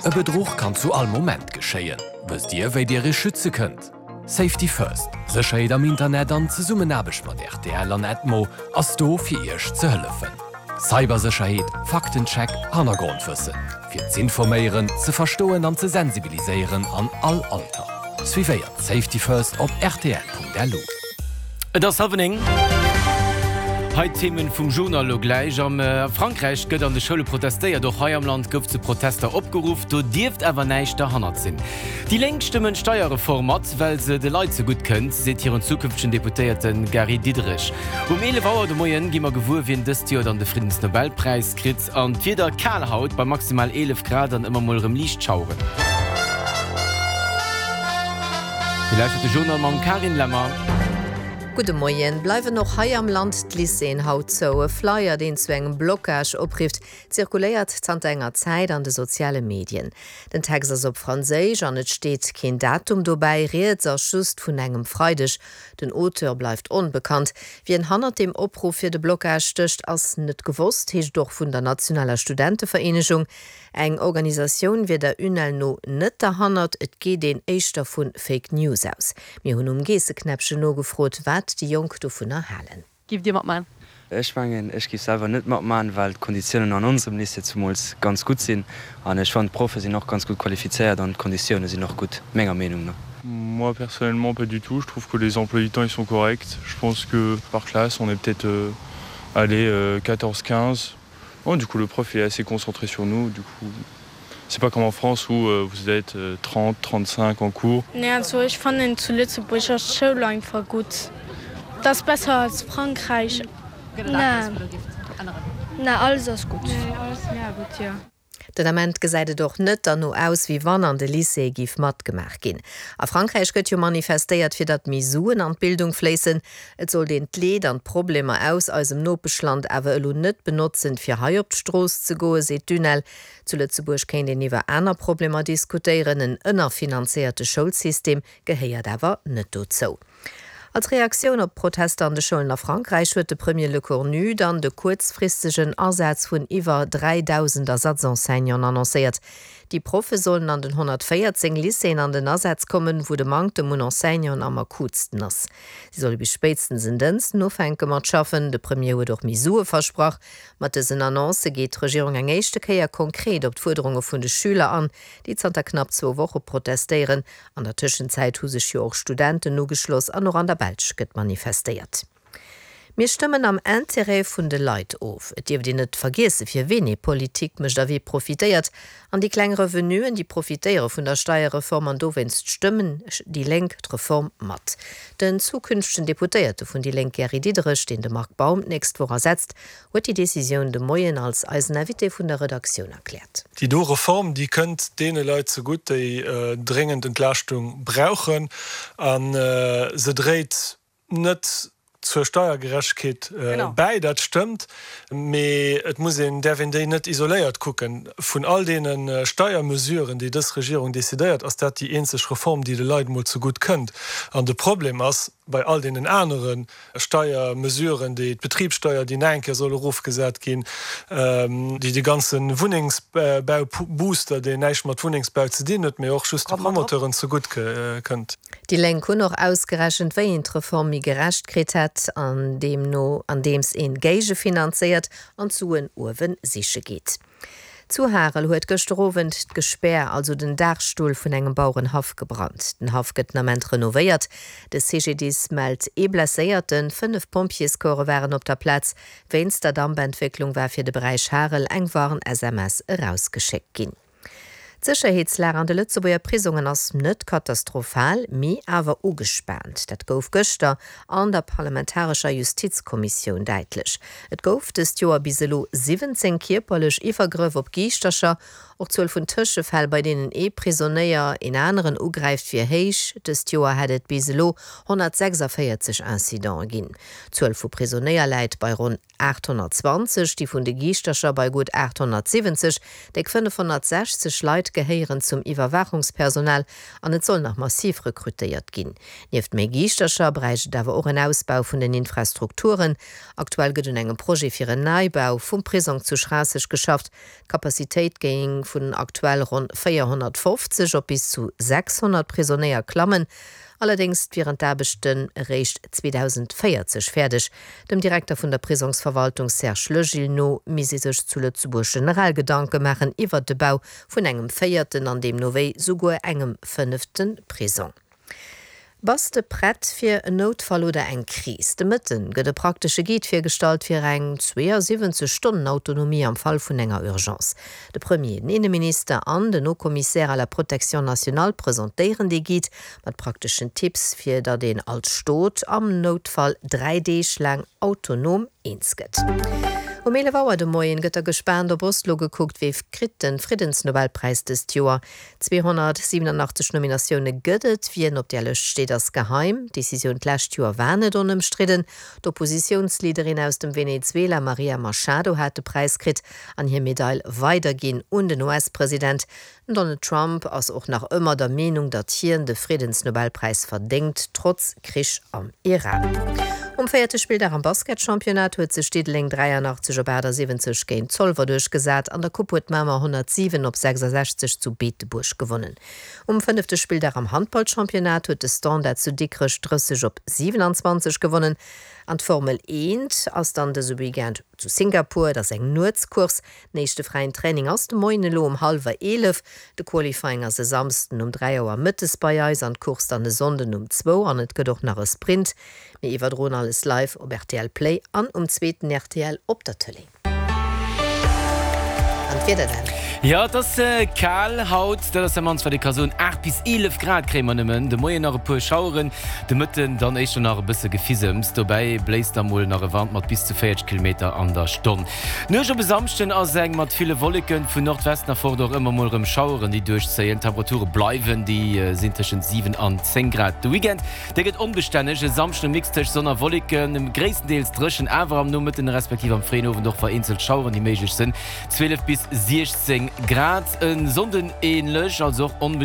E Bedruch kann zu all Moment geschéien. Wësst Dir, wéi Dir Iech schütze kënnt? Safety First, Sécherheet am Internet an Zesummenaarbecht mat rtl an Edmo ass do fir Iech ze hëllefen. Cybersécherheet, Faktencheck, Hannergrondwëssen. Fir z'informéieren, ze verstoen an ze sensibiliséieren an all Alter. Suivéiert Safety First op rtl.lu. Et ass hallwer 9. Hei d'Themen vum Journal elo gläich. Am Frankräich gëtt an de Schoule protestéiert. Och hei am Land gouf zu Protester opgeruff. Do dierft awer näischt derhannert sinn. Déi Lénk stëmmen d'Steierreform mat, well se de Leit zegutt kënnt, seet hiren zukünftegen Deputéierte Gary Diderich. Um 11 Auer de Moien gi mer gewuer, wien dëst Joer dann de Friddensnobelpräis kritt. An d'Wieder, Kal haut bei maximal 11 Grad an ëmmer mol erëm liicht Schaueren. Dir lauschtert de Journal mam Carine Lemmer. Gudde Moien. Bleiwen och hei am Land d'Lycéeën haut zou? E Flyer, deen zu engem Blocage oprifft, zirkuléiert zanter enger Zäit an de soziale Medien. Den Text ass op Franséisch an et steet keen Datum dobäi. Rieds ass just vun engem Freideg. Den Auteur bleift onbekannt. Wien hannert dem Opruff fir de Blocage stécht, ass net gewosst, heescht et och vun der nationaler Studentevereenegung. Eng Organisatioun wier der UNEL no net derhannert, et geet een éischter vu Fake News aus. Mir hunn um Geesseknäppchen nogefrot, wat déi Jonk dovunner halen. Giff Dir matman? Ech mengen, ech giff selwer net matman, well d'Konditiounen an onsem Lycée zumools ganz gutt sinn an ech fannen d'Proffe sinn och ganz gutt qualifizéiert an d'Konditioune sinn och gutt, menger Meenung no. Moi personnellement pas du tout, je trouve que les emplois du temps ils sont corrects, je pense que par classe on est peut-être allez 14, 15. Oh, du coup le prof est assez concentré sur nous, du coup c'est pas comme en France où euh, vous êtes 30, 35 en cours. Nee also ech fannen zu Lëtzebuerg ass d'Schoul einfach gutt, et ass besser als Frankräich. Nee, nee alles ass gutt. Nee alles mega gutt jo. Den Ament gesäit et och net derno aus, wéi wann an de Lycéeë giff matgemaach ginn. A Frankräich gëtt jo manifestéiert, fir datt méi Suen an d'Bildung fléissen. Et sollt een d'Leed an d'Problemer aus eisem Nopeschland awer elo net benotzen, fir hei op d'Strooss ze goen, seet d'UNEL. Zu Lëtzebuerg kéint een iwwer aner Problemer diskutéieren, en ënnerfinanzéierte Schoulsystem gehéiert awer net dozou. Als Reaktioun op d'Protester an de Schoulen a Frankräich huet de Premier Lecornu dann de kuerzfristegen Asaz vun iwwer 3.000 Ersatzenseignanten annoncéiert. Déi Proffe sollen an den 114 Lycéeën an den Asaz kommen, wou de Manktem un Enseignanten am akutsten ass. Si solle bis spéitstens en Dënschden ufänke mat schaffen. De Premier huet och méi Sue versprach. Mat dësen Annoncë geet d'Regierung eng éischte Kéier konkret op d'Fuerderunge vun de Schüler an, déi zanter knapp zwou Woche protestéieren. An der Tëschenzäit hu sech jo och Studenten ugeschloss an och an der Belsch gëtt manifestéiert. Mir stëmmen am Intérêt vun de Leit of. Et dierft een net vergiesse fir ween ee Politik mécht a wie profitéiert. An déi kleng Revenuen, déi profitéiere vun der Steierreform an dowéinst stëmmen déi Lénk d'Reform mat. Den zukünftegen Deputéierte vun déi Lénk Gary Diderich, deen de Marc Baum d'nächst Woch ersetzt, huet déi Decisioun de Moien als eisen Invité vun der Redaktioun erkläert. Déi do Reform, déi kënnt deene Leit zegutt, déi dréngend Entlaaschtung brauchen a se dréit net zur Steiergerechtegkeet bäi, dat stëmmt. Mee et muss een, däerf een déi net isoléiert kucken. Vun all deene Steiermesuren, déi dës Regierung decidéiert, ass dat déi eenzeg Reform, déi de Leit emol zegutt kënnt. An de Problem ass, bei all deenen anere Steiermesuren, déi d'Betribssteuer, déi nach eng Kéier soll erofgesat ginn, déi de ganze Wunnengsbaubooster, deen näischt mat Wunnengsbau ze dinn huet, mee och just de Promoteuren zegutt kënnt. Déi Lénk hunn och ausgerechent, wéi een d'Reform méi gerecht kritt hätt, an deemno andeems een géigefinanzéiert an d'Suen uewe siche geet. Zu Harel huet gëschter Owend d'Gespär, also den Daachstull vun engem Bauerenhaff gebrannt. Den Haff gëtt den Ament renovéiert. De CGDIS mellt ee Blesséierten. 5 Pompjeescorpse waren op der Plaz. Wéinst der Dampentwécklung war fir de Beräich Harel eng Warn-SMS erausgeschéckt ginn. D'Sécherheetslag an de Lëtzebuerger Prisongen ass net katastrophal, mee awer ugespaant. Dat gouf gëschter an der parlamentarescher Justizkommissioun däitlech. Et gouf dëst Joer bis elo 17 kierperlech Iwwergrëff op Giischtercher. Och d'Zuel vun Tëschefäll, bei deenen ee Prisonéier een aneren ugräift, wier héich. Dëst Joer hätt et bis elo 146 Incidente ginn. D'Zuel vu Prisonéier läit bei ronn 820, déi vun de Giischtercher bei gutt 870. Déck 560 Leit. gehéieren zum Iwwerwaachungspersonal an et soll nach massiv rekrutéiert ginn. Nieft méi Giischtercher bräicht et awer och en Ausbau vun den Infrastrukturen. Aktuell gëtt un engem Projet fir en Neibau vum Prisong zu Schraasseg geschafft. D'Capacitéit géing vun aktuell ronn 450 op bis zu 600 Prisonéier klammen. Allerdéngs wieren d'Aarbechten eréischt 2040 fäerdeg. Dem Direkter vun der Prisongsverwaltung Serge Legil no misst ee sech zu Lëtzebuerg generell Gedanke maachen iwwert de Bau vun engem véierten an deemno wéi souguer engem fënnefte Prisong. Bass de prett fir en Noutfall oder eng Kris? De Mëtten gëtt e praktesche Guide virgestallt fir eng 72 Stonnen Autonomie am Fall vun enger Urgence. De Premier, den Inneminister an den Haut Commissaire à la protection nationale presentéieren dee Guide mat prakteschen Tipps, fir datt een als Stot am Noutfall 3 Deeg laang autonom eens gëtt. Um 11 Auer de Moien gëtt da gespaant op Oslo gekuckt, Wee kritt de Friddensnobelpräis dëst Joer? 287 Nominatioune gëtt et. Wien op där Lëscht steet, ass geheim. D'Decisioun d'lescht Joer war net onëmstridden. D'Oppositiounsleaderin aus dem Venezuela Maria Machado hat de Präis kritt an hir Medail weiderginn un den US-President. Den Donald Trump ass och nach ëmmer der Meenung, datt hien de Friddensnobelpräis verdéngt, trotz Krich am Iran. Um véierte Spilldag am Basketchampionnat huet sech Diddeleng 83 op 78 géint Zolwer duerchgesat. An der Coupe huet Mamer 107 op 66 zu Beetebuerg gewonnen. Um fënnefte Spilldag am Handballchampionnat huet de Standard zu Dikrech 30 op 27 gewonnen. An d'Formel 1 ass dann dëse Weekend zu Singapur. Et ass eng Nuetscourse. Den éischte fräien Training ass de Moien elo um hallwer 11. De Qualifying ass e Samsden um 3 Auer mëttes bei eis an d'Course dann e Sonnden um zwou an et gëtt och nach e Sprint. Mir iwwerdroen alles live op rtl Play an um zweeten rtl op der Tëlee. An d'Wieder dann? Jo, et ass kal haut, dat ass dat mannst wat ee ka soen. 8 bis 11 Grad kréie mer nëmmen. De Moien nach e puer Schaueren, de Mëtten dann éischter nach e bësse Gefisems. Dobäi bléist da mol nach e Wand mat bis zu 40 Kilometer an der Stonn. D'Nuecht op e Samschden ass eng mat ville Wolleken, vun Nordwesten erfort och ëmmer mol erëm Schaueren, déi duerchzéien. D'Temperature bleiwen, déi sinn tëschent 7 an 10 Grad. De Weekend, dee gëtt onbestänneg, e Samschden e Mix tëscht Sonn a Wolleken, gréisstendeels dréchen, awer am Nomëtten respektiv am fréien Owend och vereenzelt Schaueren, déi méiglech sënn, 12 bis 16 Grad. E Sonnden änlech, also och onbestänneg.